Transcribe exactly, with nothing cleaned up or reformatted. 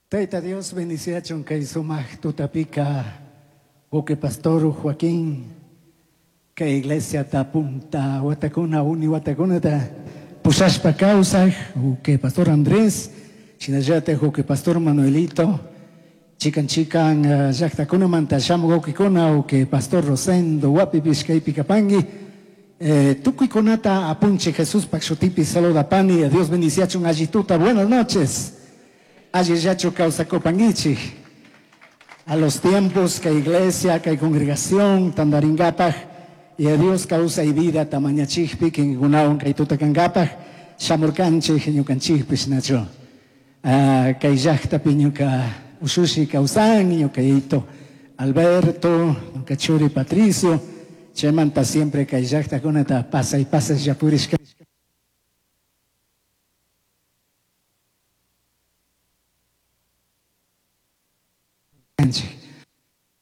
Tayta Dios bendiciachun kay sumaq tutapika uke pastor Joaquín kay iglesia punta watakuna uni watakunata pushashpa kawsaj uke pastor Andrés shinallatak uke pastor Manuelito chikan chikan uh, llaqtakunamanta shamuq ukikuna uke pastor Rosendo wapipish kaypi kapanki eh, tukuykunata apunchik Jesuspaq shutipi saludapani. Dios bendiciachun allituta. Buenas noches. Allillachu kawsakupankichik. A los tiempos que iglesia, que congregación, tandaringapaj, y a Dios kawsay vida tamañachikpi, kinkunawan kay tutakankapaj, shamurkanchik, ñukanchikpish nachu. Ah, kay llaqtapi ñuka ushushi kawsan, ñuka yayito Alberto, ñuka churi Patricio, chaymanta siempre kay llaqtakunata pasay pasay purishka.